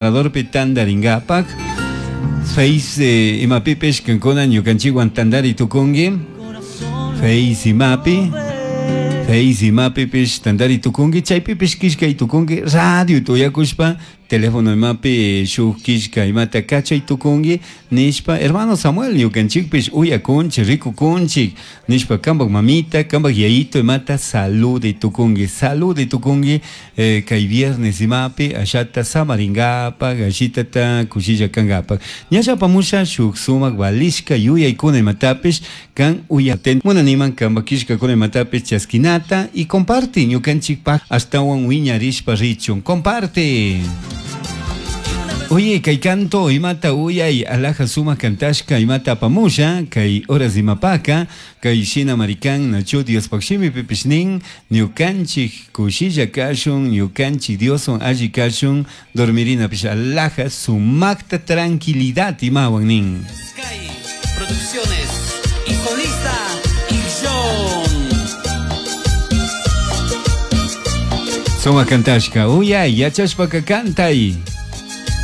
Paradorpi tandaringapak Face imapipish kankuna ñukanchikwan tandari tukunki Face imapi Face imapipish tandari tukunki chaypipish killkay tukunki radio uyakushpa teléfono imapi shuk killka imata kachay tukunki nishpa hermano Samuel ñukanchikpish uyakunchik rikukunchik nishpa kampak mamita kampak yayito imata salude tukunki salude tukunki kay viernes imapi ashata samaringapak ashitata kushilla kangapak ñalla apamusha shuk sumak valishka yuyaykuna imatapish kan uyaten munaniman kampak killkakuna imatapish chaskinata y comparte ñukanchikpak ashtawan wiñarishpa richun comparte. Oye, kay canto imata uyay alaja sumak kantashka imata apamusha kay horas imapaka kay shina marikan nachu Diospaj shimipipish nin ñukanchik kushilla kashun ñukanchik Dioswan alli kashun dormirinapish alaja sumakta tranquilidad imawan nin. Sky Producciones y solista John. Sumak kantashka uyay yachashpaka kantay.